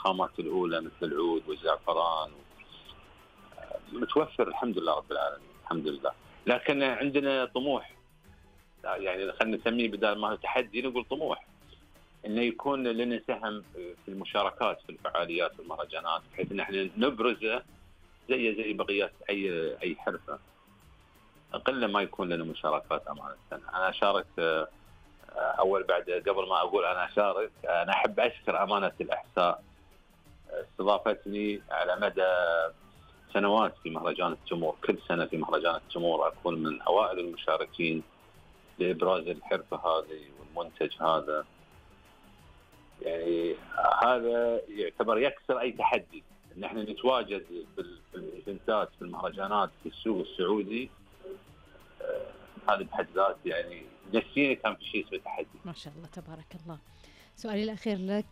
الخامات الأولى مثل العود والزعفران متوفر الحمد لله رب العالمين الحمد لله. لكن عندنا طموح، يعني خلينا نسميه بدل ما هو تحدي نقول طموح، انه يكون لنا سهم في المشاركات في الفعاليات والمهرجانات، بحيث ان احنا نبرزه زي بقيه اي حرفه. اقل ما يكون لنا مشاركات امانه. انا شاركت قبل ما اقول انا اشارك، انا احب اشكر امانه الاحساء، استضافتني على مدى سنوات في مهرجان التمور. كل سنه في مهرجان التمور اكون من اوائل المشاركين لابراز الحرفه هذه والمنتج هذا. يعني هذا يعتبر يكسر اي تحدي ان احنا نتواجد في الايفنتات في المهرجانات في السوق السعودي. هذا بحد ذاته يعني نفسيا كان في شيء اسمه تحدي. ما شاء الله تبارك الله. سؤالي الأخير لك،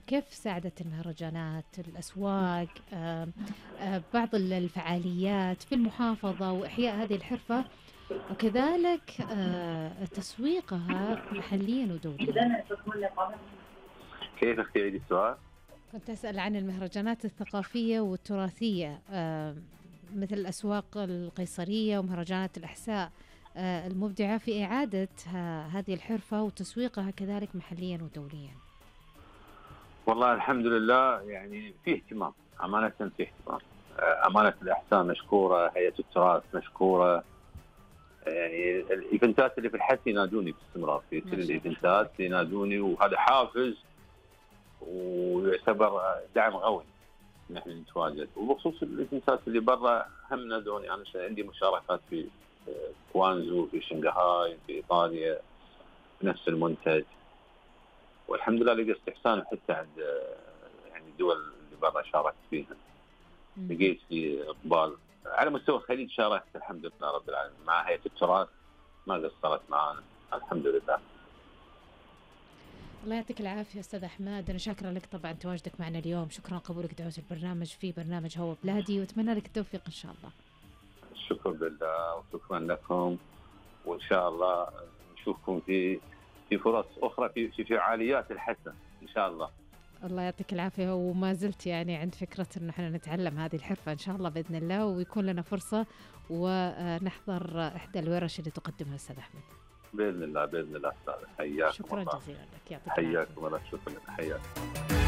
كيف ساعدت المهرجانات الأسواق بعض الفعاليات في المحافظة وإحياء هذه الحرفة وكذلك تسويقها محليا ودوليا؟ كيف اختياري السؤال؟ كنت أسأل عن المهرجانات الثقافية والتراثية مثل الأسواق القيصرية ومهرجانات الأحساء المبدعة في إعادة هذه الحرفة وتسويقها كذلك محليا ودوليا. والله الحمد لله يعني في اهتمام، أمانة في اهتمام. أمانة الأحساء مشكورة، هيئة التراث مشكورة. يعني الإيفنتات اللي في الحث ينادوني باستمرار، في كل الإيفنتات ينادوني، وهذا حافز ويعتبر دعم قوي نحن نتواجد. وبخصوص الإيفنتات اللي برا هم نادوني. أنا عندي مشاركات في كوانزو، في شنغهاي، في إيطاليا بنفس المنتج، والحمد لله لقى استحسان حتى عند يعني الدول اللي برا شاركت فيها. لقيت في إقبال على مستوى الخليج. شاركت الحمد لله رب العالمين مع هيئة التراث، ما قصرت معانا الحمد لله. الله يعطيك العافية أستاذ أحمد، أنا شاكرة لك طبعا تواجدك معنا اليوم، شكرا قبولك دعوة البرنامج في برنامج هو بلادي، وأتمنى لك التوفيق إن شاء الله. شكرا لله وشكرا لكم، وإن شاء الله نشوفكم في فرص أخرى في فعاليات الحسن إن شاء الله. الله يعطيك العافية، وما زلت يعني عند فكرة إن احنا نتعلم هذه الحرفة إن شاء الله بإذن الله، ويكون لنا فرصة ونحضر إحدى الورش اللي تقدمها أستاذ أحمد بإذن الله. بإذن الله أستاذ، حياكم. شكرا جزيلا لك، يعطيك العافية. حياكم الله. شكرا لك. حياكم.